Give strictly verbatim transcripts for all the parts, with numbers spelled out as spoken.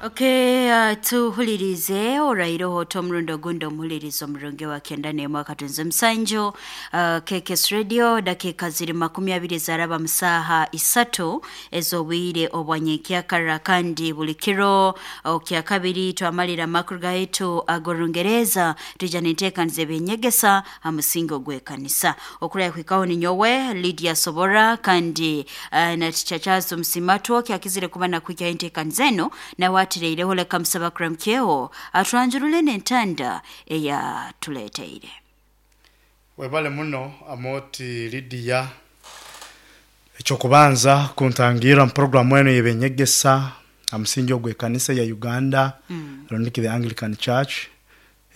Okay, uh, tuhulirize orairoho tomurundo gundi omuhulirizo omurungi wa kenda n'emwe akatunze musanju uh, K K S Radio. Dakika ziri makumi abiri zaraba musaha isatu ez'obwire obwanyenkyakara, kandi buli kiro okya kabiri twamalira amakuru gaitu ag'Orungereza tuja n'enteekaniza ebyenyegesa ha musingi ogw'ekanisa. Okuraya kuhikaho ni nyowe Lydia Sobora, kandi uh, na Teacher Charles Musimatwo kyakizire kuba nakuhikaho enteekaniza eno nawe atireireho leka musaba kuramukyeho atwanjurule n'entanda eyatuleeteire. Webale muno Amoti Lydia, ekyokubanza kuntangira mu programu eno y'ebyenyegesa ha musingi ogw'ekanisa ya Uganda, mm. Rondiki the Anglican Church.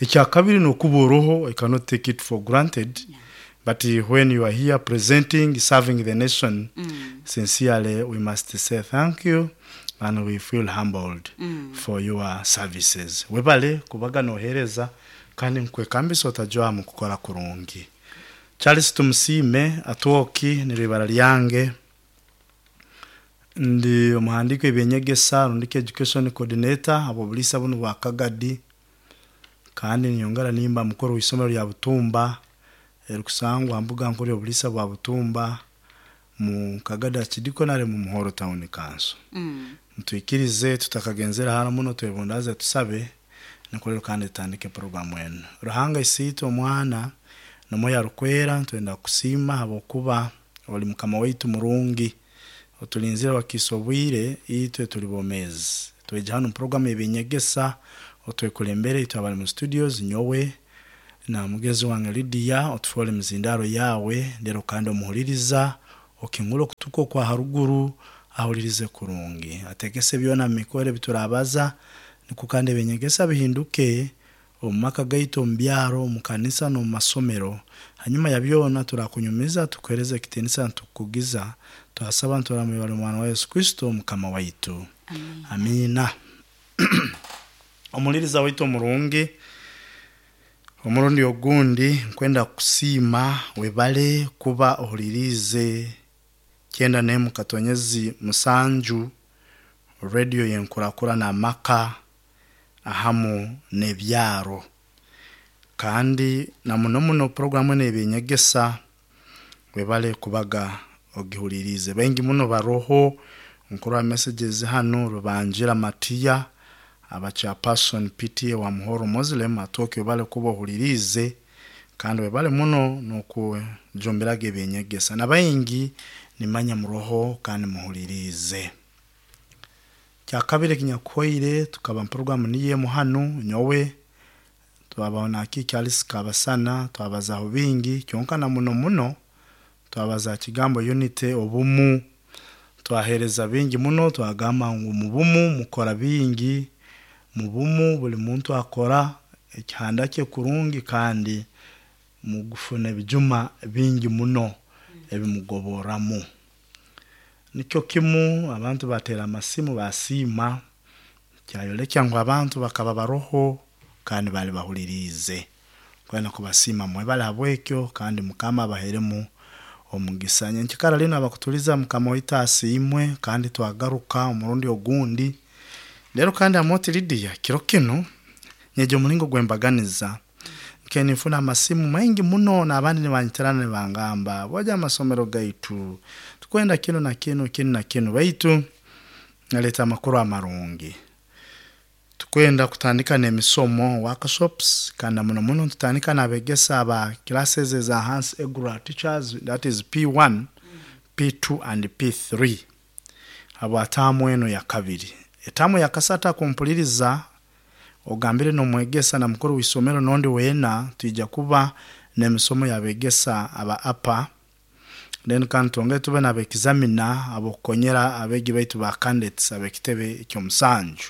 Ekyakabiri n'okuba oroho, I cannot take it for granted, yeah. But when you are here presenting, serving the nation, mm. sincerely we must say thank you and we feel humbled mm. for your services. Webale kubaga nohereza kandi nkwekambisa otajwa mu kukora kurungi. Charles Tumusime Atwoki niribara lyange, ndi omuhandiko ebyenyegesa rundiki education coordinator abo bulisa buno bwa Kagadi, kandi nyongera nimba mukuru w'isomero lya Butumba erikusangwa mbuga nkuru y'obulisa bwa Butumba mu Kagadi Archdiaconal mu Muhoro Town Council. Mm. Mtuikirize tutakagenzera hano muno twebundaze tusabe nikorero kandi tandike programu eno. Ruhanga isiito omwana nomoya rukwera twenda kusima habokuba oli mukama waitu murungi otulinzira wakisobwire itwe tuli bomezi. Tweja hano programu ebinyegesa otwekulembere itwe abali mu studios nyowe na mugezi wange Lydia otufole mzindaro yawe ndero kandi omuhuliriza okingula kutuko kwa haruguru ahulirize kurungi ategese byona mikore biturabaza nikukande benyegesa bihinduke omumaka gaitu mbyaro mukanisa no masomero. Hanyuma ya byona turakunyumiza tukereze kitinisa tukugiza twasaba nturamwe mwana wa Yesu Kristo mukama waitu. Amina, amina. Omuliriza waitu murungi omurundi ogundi nkwenda kusima webale kuba ohulirize kyenda nemu katonyezi musanju radio yenkurakura na maka ahamu nebyaro, kandi na muno muno programu nebinyegesa webale kubaga ogihulirize. Bengi muno baroho nkura messages hano rubanjira Matia abacha person P T A wa Muhoro Muslim atoke webale kuba ohulirize kandi webale muno nokujomberaga ebinyegesa na baingi nimanya muroho kandi muhulirize. Kyakabiri kinyakoire tukaba programu niye muhanu nyowe twabona akiki kabasana twabazaho bingi kyonka na muno muno twabaza kigambo unity obumu twahereza bingi muno twagamba ngu mubumu mukora bingi mubumu buli muntu akora ekihanda kye kurungi kandi mugufuna ebijuma bingi muno ebimugoboramu. Nikyo kimu abantu batera amasimu basima kyayolekya ngu abantu bakaba baroho kandi bali bahulirize kwena kubasima mwebale habwekyo kandi mukama abaheremu omugisa. Nyenkikara lino abakutuliza mukama waitu asiimwe kandi twagaruka omurundi ogundi lero kandi Amoti Lydia kiro kino nyeje omulingo gwembaganiza nkenifuna amasimu maingi muno n'abandi nibanyiterana nibangamba boja amasomero gaitu tukwenda kino na kino kino na kino baitu naleta amakuru amarungi. Tukwenda kutandika n'emisomo workshops kandi muno muno tutandika n'abegesa aba classes za Hans Egura teachers, that is P one, P two and P three abo tamu eno ya kabiri. Etamu ya kasata kumpuliriza ogambire nomwegesa na mukuru w'isomero nondi wena tuija kuba n'emisomo yabegesa aba apa then kandi twongere tube n'abekizamina abokonyera abegi baitu ba candidates abekitebe ekyomusanju.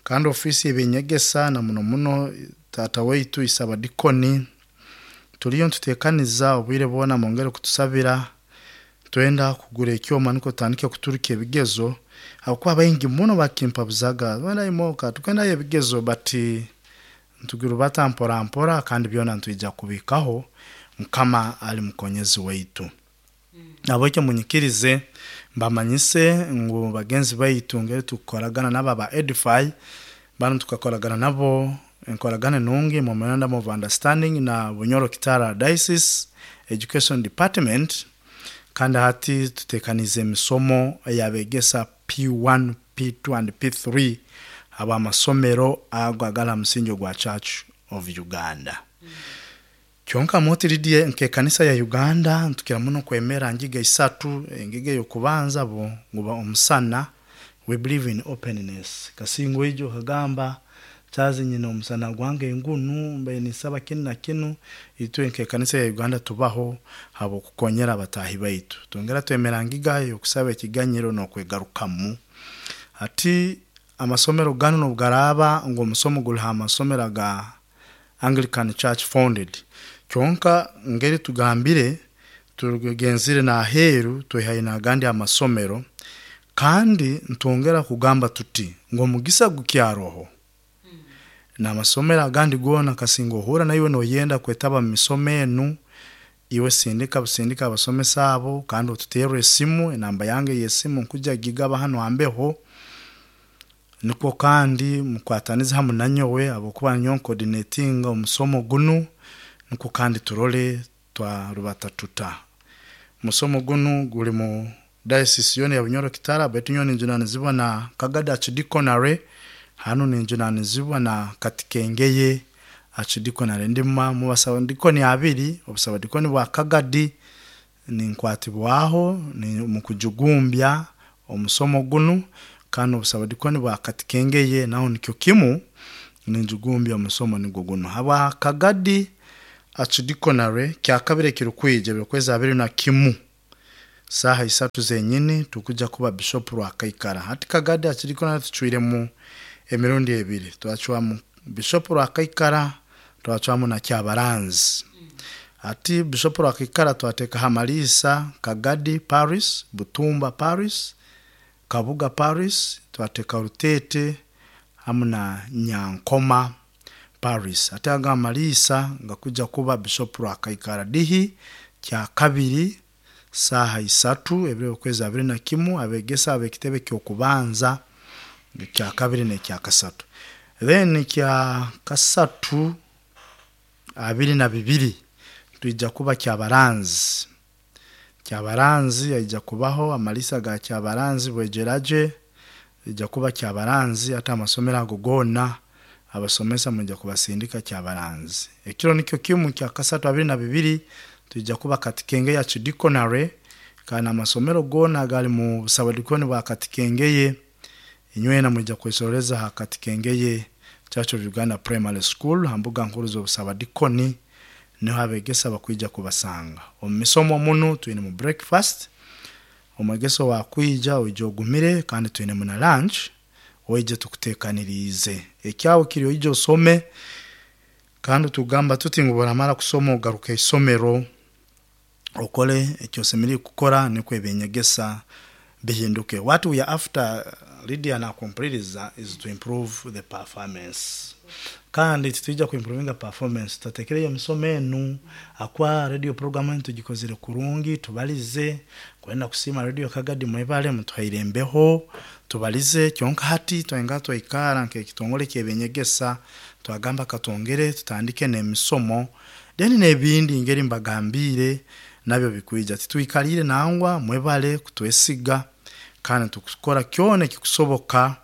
Kandi ofisi ebinyegesa na muno muno tata waitu isaba dikoni tuliyo ntutekaniza obwire bwona mwongere kutusabira twenda kugura ekyoma niko tandike kuturika ebigezo abakuba baingi muno bakimpabuzaga wenda imoka tukenda ebigezo bati ntugiru batampora mpora kandi byona ntwijja kubikaho mukama ali mukonyezi waitu. Mm. Nabwekyo munyikirize Mbamanyise ngu bagenzi baitu ngeri tukukoragana nabo aba Edify banu tukakoragana nabo enkoragana nungi memorandum of understanding na Bunyoro Kitara Diocese Education Department. Kandi hati tutekanize emisomo eyabegesa P one, P two and P three aba amasomero ago agala musingi gwa Church of Uganda. Mm. Kyonka motiridie nke kanisa ya Uganda ntukira muno kwemera ngiga isatu, engiga yokubanza bo nguba omusana. We believe in openness. Kasingo ijo kagamba chazi nyina omusana gwange ngunu mbe nisaba kinu na kinu. Itwe nke kanisa ya Uganda tubaho habo kukonyera abatahi baitu. Tongera twemera ngiga yokusaba ekiganyiro n'okwegarukamu. Ati amasomero gano n'obugaraba ngo omusomo guli ha amasomero ga Anglican Church founded. Kyonka ngeri tugambire tugenzire na aheru twehaina agandi amasomero, kandi ntongera kugamba tuti ngo mugisa gukyaroho mm. na amasomero agandi gona kasingo ohura na iwe noyenda kwetaba mu misomo enu, iwe sindika busindika abasomesa abo kandi otuterwe esimu, enamba yange y'esimu nkuja gigaba hano ambeho. Niko kandi mukwatanize hamu nanyowe abokuba nyo coordinating omusomo gunu, niko kandi turole twarubata tuta. Musomo gunu guli mu diocese yone ya Bunyoro Kitara, betu nyoni njunanizibwa na Kagadi Archdeaconry, hano ninjunanizibwa na Katikengeye Archdeaconry. Ndima mu basabadikoni abiri, obusabadikoni bwa Kagadi ninkwatibwaho ni mu kujugumbya omusomo gunu, kandi obusabadikoni bwa Katikengeye naho nikyo kimu ninjugumbya omusomo nigwo guno. Haba Kagadi Archdeaconry kyakabire kirukwije byokwezi abiri na kimu saha isatu zenyini tukuja kuba Bishop Rwakaikara. Hati Kagadi Archdeaconry tuchwiremu emirundi ebiri, twachwamu Bishop Rwakaikara, twachwamu na Kyabaranzi. Ati Bishop Rwakaikara twateka Hamalisa, Kagadi Paris, Butumba Paris, Kabuga Paris, twateka Rutete hamu na Nyankoma Paris. Ate aga Malisa nga kuja kuba Bishop Rwakaikara dihi kya kabiri saha isatu ebiro kwezi abiri na kimu abegesa abekitebe kyokubanza kya kabiri ne kya kasatu. Then kya kasatu abiri na bibiri tuija kuba Kyabaranzi. Kyabaranzi aija kubaho amalisa ga Kyabaranzi bwejeraje ija kuba Kyabaranzi. Ata amasomero ago gona abasomesa mujja kubasindika Kyabaranzi. Ekiro nikyo kimu kya kasatu abiri na bibiri tuija kuba Katikenge ya Archdeaconry, kana amasomero gona gali mu busabadikoni bwa Katikengeye inywena mujja kwesoreza ha Katikengeye Church of Uganda Primary School hambuga nkuru z'obusabadikoni, niho abegesa bakwija kubasanga. Omu misomo muno twine mu breakfast, omwegeso wakwija oije ogumire, kandi twine mu na lunch oije tukutekanirize. Ekyawo kiri oije osome, kandi tugamba tuti ngu boramara kusoma ogaruke isomero okole ekyo osemeriire kukora nikwo ebinyegesa bihinduke. What we are after, Lydia na kumpuliriza, is to improve the performance. Kandi titwija kuimprovinga performance tutatekereye emisomo enu akwa radio program enu tugikozere kurungi, tubalize kwenda kusima radio Kagadi mwebale mutuhaire embeho tubalize. Kyonka hati twenga twaikara nke kitongole kyebenyegesa twagamba katongere tutandike n'emisomo then n'ebindi ngeri mbagambire nabyo bikwija. Titwikalire nangwa mwebale kutwesiga kandi tukukora kyone kikusoboka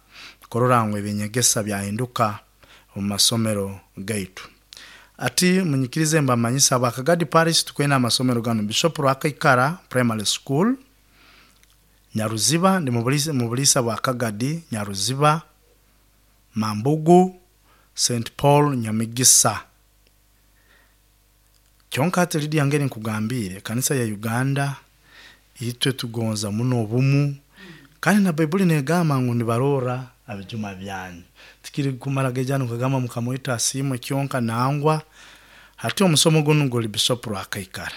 korora ngo ebinyegesa byahinduka mu masomero gaitu. Ati munyikirize mbamanyisa aba Kagadi Parish tukwena amasomero gano: Bishop Rwakaikara Primary School Nyaruziba, ndi mubulisa mubulisa bwa Kagadi Nyaruziba, Mambugu, Saint Paul Nyamigisa. Kyonka ati Lydia ngeri nkugambire kanisa ya Uganda itwe tugonza muno obumu, kandi na Baibuli negamba ngu nibarora abijuma byanyu. Tikiri kumara gejano kagamba mukamwita asimwe kyonka nangwa. Hati omusomo gunu guli Bishop Rwakaikara.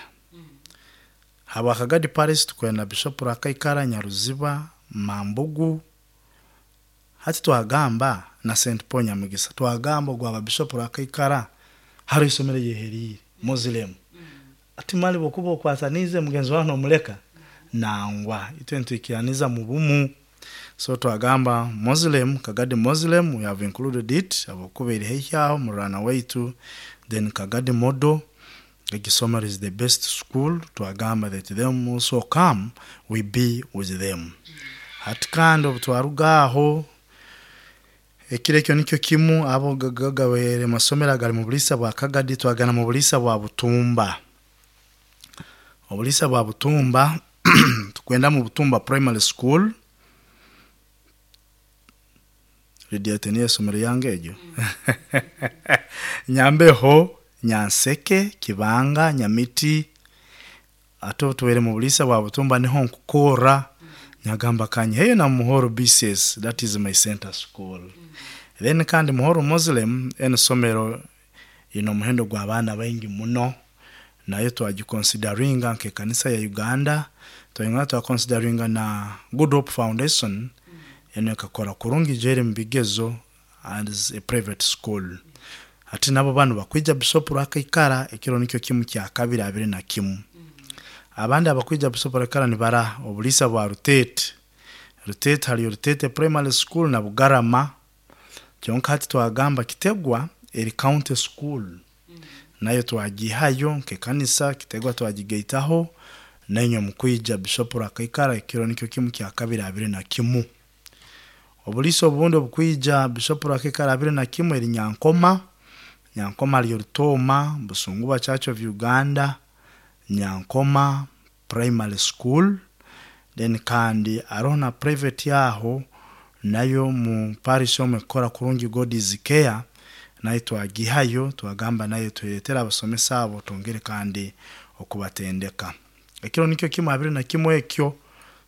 Haba Kagadi Parish tukwenda Bishop Rwakaikara, Nyaruziba, Mambugu. Hati twagamba na Saint Paul Nyamugisa, twagamba gwaba Bishop Rwakaikara hari isomero yeherire Muslim. Ati mali bokuba okwatanize mugenzi wawe nomuleka Nangwa itwe ntwikiraniza mu bumu. So twagamba Muslim, Kagadi Muslim, we have included it abakuba eri haihi aho murana waitu. Then Kagadi Model egisomero is the best school, twagamba that them also come, we be with them. Hati kandi obu twaruga aho ekiro ekyo nikyo kimu abo gagawere masomero agali mu bulisa bwa Kagadi, twagana mu bulisa bwa Butumba. Obulisa bwa Butumba tukwenda mu Butumba Primary School. Lydia teniye esomero yange egyo Nyambeho, Nyanseke, Kibanga, Nyamiti. Ate obu tubaire mu bulisa bwa Butumba niho nkukora nyagamba kanyiheyo na Muhoro B C S, that is my center school. Then kandi Muhoro Muslim eno somero ino omuhendo gw'abaana baingi muno, nayo twagiconsideringa nk'ekanisa ya Uganda, twayongera twaconsideringa na Good Hope Foundation, eno ekakora kurungi jeri mu bigezo as a private school. Ati nabo banu bakwija Bishop Rwakaikara ekiro nikyo kimu kya kabiri abiri na kimu. Abandi abakwija Bishop Rwakaikara ni bara obulisa bwa Rutete. Rutete haliyo Rutete Primary School na Bugarama. Kyonka hati twagamba Kitegwa eri county school. Nayo twagihayo nk'ekanisa, Kitegwa twagigaitaho nenyo mukwija Bishop Rwakaikara ekiro nikyo kimu kya kabiri abiri na kimu. Obuliso obundi obukwija Bishop Rwakaikara abiri na kimu eri Nyankoma. Nyankoma haliyo Rutoma, Busunguba Church of Uganda, Nyankoma Primary School. Then kandi aroho na private yaho nayo mu parish omwe ekora kurungi God is Care, nayo twagihayo twagamba nayo tweretera abasomesa abo twongere kandi okubatendeka. Ekiro nikyo kimu abiri na kimu ekyo